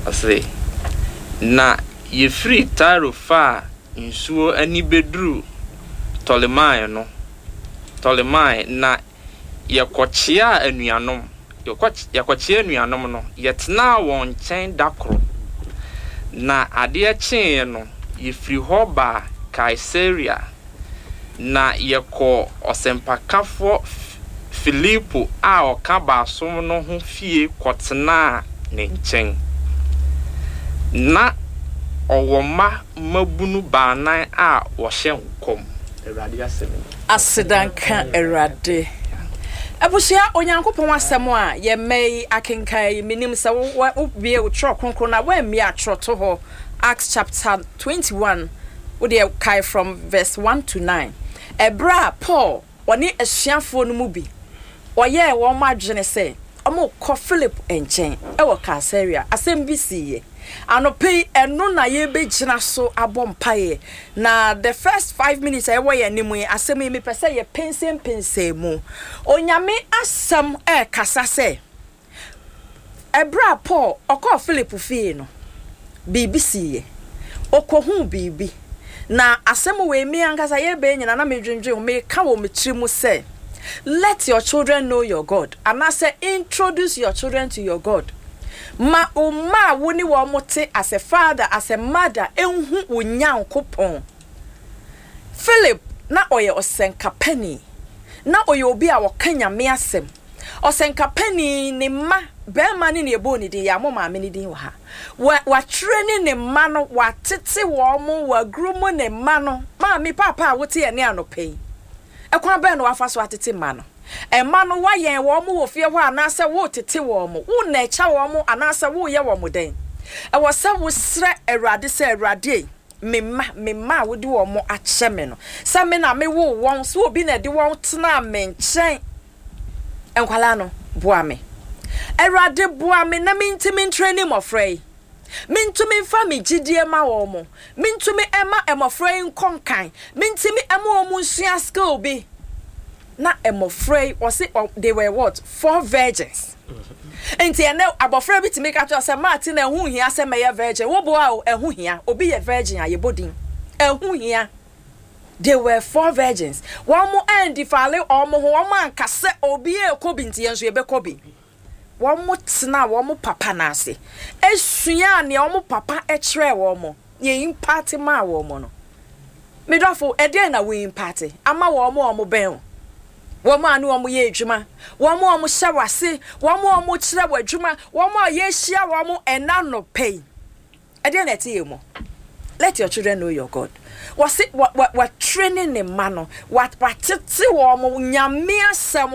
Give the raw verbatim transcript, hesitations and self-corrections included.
Ɔse, na yɛfiri Tiro faa nsuo ani bɛduru Ptolemai no, Ptolemai, na yɛkɔkyeaa anuanom, yɛkɔ yɛkɔkyea anuanom no, yɛtenaa wɔn nkyɛn da koro. Na adeɛ kyeeɛ no, yɛfiri hɔ baa Kaesarea, na yɛkɔɔ ɔsɛmpakafoɔ Filipo a ɔka baason no ho fie kɔtenaa ne nkyɛn. Na ɔwɔ mma mmabunu baanan a wɔhyɛ nkɔm. Awurade asɛm ni. Aseda nka Awurade. Abusua, Onyankopɔn asɛm a yɛmma yi akenkan yi, menim sɛ wobie wo Twerɛ Kronkron na woammie atwerɛto hɔ, Acts chapter twenty-one, wodeɛ kae from verse one to nine. Ɛberɛ a Paul ɔne asuafoɔ no mu bi ɔyɛɛ wɔn adwene sɛ ɔmokɔ Philip nkyɛn ɛwɔ Kaesarea, asɛm bi siiɛ. Anɔpɛ yi, ɛno na yɛbɛgyina so abɔ mpaeɛ. Na the first five minutes a ɛwɔ yɛn anim yi, asɛm yi mepɛ sɛ yɛpɛnsɛmpɛnsɛn mu. Onyame asɛm ɛrekasa sɛ ɛberɛ a Paul ɔkɔɔ Philip fie no, biribi siiɛ. Ɔkɔhuu biribi. Na asɛm wei, me ankasa yɛbɛn nyina na medwendwen ho, meka wɔ me tiri mu sɛ, let your children know your God, anaasɛ introduce your children to your God. Ma wo mma a wo ne wɔn te as a father, as a mother, enhu wo Nyankopɔn. Philip na ɔyɛ ɔsɛnkapani, na ɔyɛ obi a ɔka Nyame asɛm. Ɔsɛnkapani ne mma bɛrima ne ne ɛbɔɔ ne din, yɛ amɔ maame ne din wɔ ha. Watwerɛ ne ne mma no, watete wɔn mo, waguru mu ne mma no. Maame, papa a wote yɛ ne anɔpɛ yi, ɛkwan bɛn na wafa so atete mma no? Mma no, wayɛn wɔn mo wɔ fie hɔ anaasɛ wotete wɔn mo, wo na ɛkyɛ wɔn mo anaasɛ woyɛ wɔn mo dɛn? Ɛwɔ sɛ wosrɛ Awurade sɛ, Awurade, me mma, me mma a wode wɔn mo akyɛ me no, sɛ me na mewo wɔn, sɛ obi na ɛde wɔn tena me nkyɛn, nkwalaa no, boa me. Awurade, boa me na mentumi ntrɛ ne mmɔfra yi, mentumi mfa me gyidie ma wɔn mo, mentumi ɛma mmɔfra yi nkɔ nkan, mentumi ɛma wɔn mo nsua skill bi. Na mmɔfra yi, wɔse they were what? Four virgins. Nti ɛnɛ abɔfra bi tumi ka kyerɛ sɛ, "Maate na ɛho hia sɛ mɛyɛ virgin." Woboa o, ɛho hia. Obi yɛ virgin a yɛbɔ din, ɛho hia. They were four virgins. Wɔn mo ɛndifale wɔn ho, wɔn anka sɛ obi ekɔ bi nti yɛn nso yɛbɛkɔ bi. Wɔn mo tena wɔn mo papa n'ase esua nea wɔn papa ɛkyerɛ wɔn mo, yɛ impact maa wɔn mo no. Medɔfo, ɛdeɛn na wo impact ama wɔn mo a wɔn bɛn o, wɔn a ne wɔn yɛ adwuma, wɔn a wɔn hyɛ w'ase, wɔn a wɔn kyerɛ wɔ adwuma, wɔn a yɛahyia wɔn ɛna nɔpɛ yi? Ɛdeɛn na ɛte yɛ mu? Let your children know your God. Wɔsi wɔ wɔ wɔ training ne mma no, watete wɔn Nyame asɛm.